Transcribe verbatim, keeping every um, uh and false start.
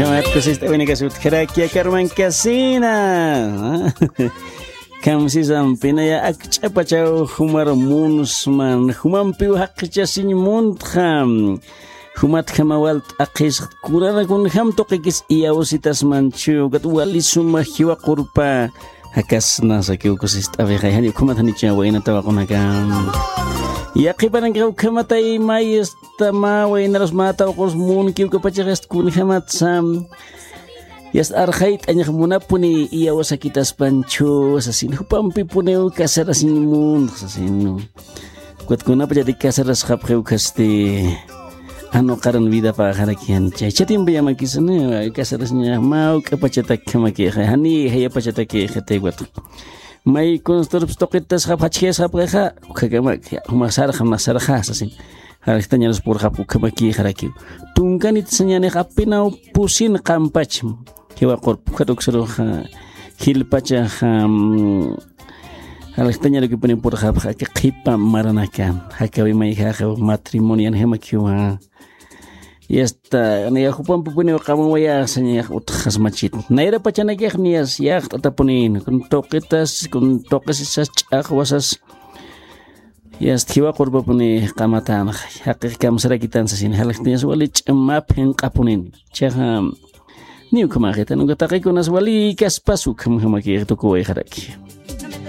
Kusist'awinakasut kharakia karman kasina. Kamsisampinaya akch'apachaw jumar munsman jumampiw jaqchasiñ muntxa. Jumatjama wal t'aqhisxt kunana kunjam tuqikis iyawsitasmanchu kat wali suma jiwa qurpa. Jakasna sakiw kusist'awixa jani ukhamat janicha waynata waqunaka. Yaqhipanankixa ukhamatay mayista mä waynarus mä tawqus munkiw kapachaxist kunjamatsa. Yast arxayt'añax munapuni iyawsakitaspanchu sasin jupampipuniw casarasiñ muntxa sasin. Kutkunapachati casarasxapxiw khasti anuqaran vidapaxaraki janicha ichatimpiyamakisan. Casarasiñax mä uk'apachatakjamakixa jani jayapachatakixitay kutku. May kunsturps tuqitasxap jachjayasxapxixa ukhakamak jumax sarxam nax sarxasa sin. Jarjtañarus purxapx ukhamakixarakiw. Tunkanit sañanix apinaw pusin qampacham. Jiwa qurpukhat uksaruxa jilpachaxa. Jarjtañarukipuni purxapxa aka qhipa maranaka jakawi mayjaxa matrimonian jamakiwa. Yasta niya jupampipuniw qamawayaxsañax utxasmachit nayra pachanakix niyas yaqt'atapunin kun tuqitas kun tuqisisas ch'aqwasas. Yast jiwa qurpapuni qamatanxa jaqix kamsarakitan sasin jalxtiñas wali ch'amap jinq'apunin. Chaxa ni ukhamaxitan uka taqikunas wali kaspas ukhamjamakix tukuwayxaraki.